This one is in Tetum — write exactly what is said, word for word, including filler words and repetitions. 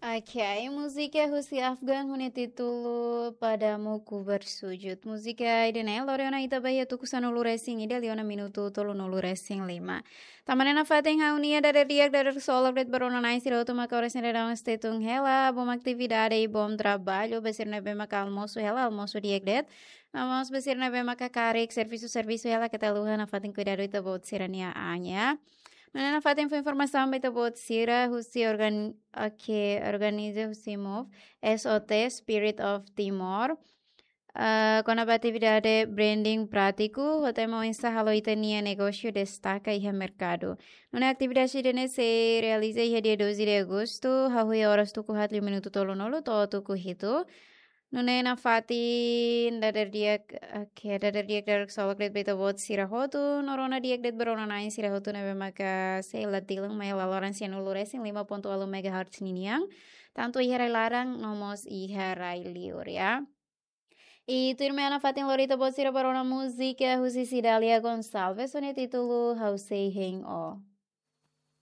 Ok, múzika husi Afgan ho nia títulu Padamu Ku Bersujud. Múzika ida-ne'e lori ona ita ba iha tuku sanulu resin ida liu ona minutu tolunulu resin lima. Tanba ne'e nafatin ha'u-nia dadeer-di'ak, dadeer-solok de'it ba rona-na'in sira hotu maka oras ne'e daudaun sei tun hela, bom atividade i bom traballu. Ba sira ne'ebé maka almosu hela, almosu di'ak de'it. No mós ba sira ne'ebé maka karik servisu, servisu hela, keta haluha nafatin kuidadu ita-boot sira-nia an, ya. Nune'e nafatin fó informasaun ba ita-boot sira husi organ-, ok, organiza husi MOVE, S O T, Spirit of Timor. Ah, kona-ba atividade branding prátiku, ho tema oinsá halo ita-nia negósiu destaka iha merkadu. Nune'e atividade ida-ne'e sei realiza iha dia doze de agostu, hahú iha oras tuku haat liu minutu tolunulu to'o tuku hitu. Nune'e nafatin dadeer-di'ak, ok, dadeer-di'ak, dadeer-solok de'it ba ita-boot sira hotu, no rona di'ak de'it ba rona-na'in sira hotu ne'ebé maka sei la tilang mai laloran sianulu resin lima pontu ualu megahertz ninian, tantu iha rai laran no mós iha rai liur, ya. I tuirmai ha'u nafatin lori ita-boot sira ba rona múzika husi Cidalia Gonçalves, ho nia títulu Ha'u Sei Hein Ó.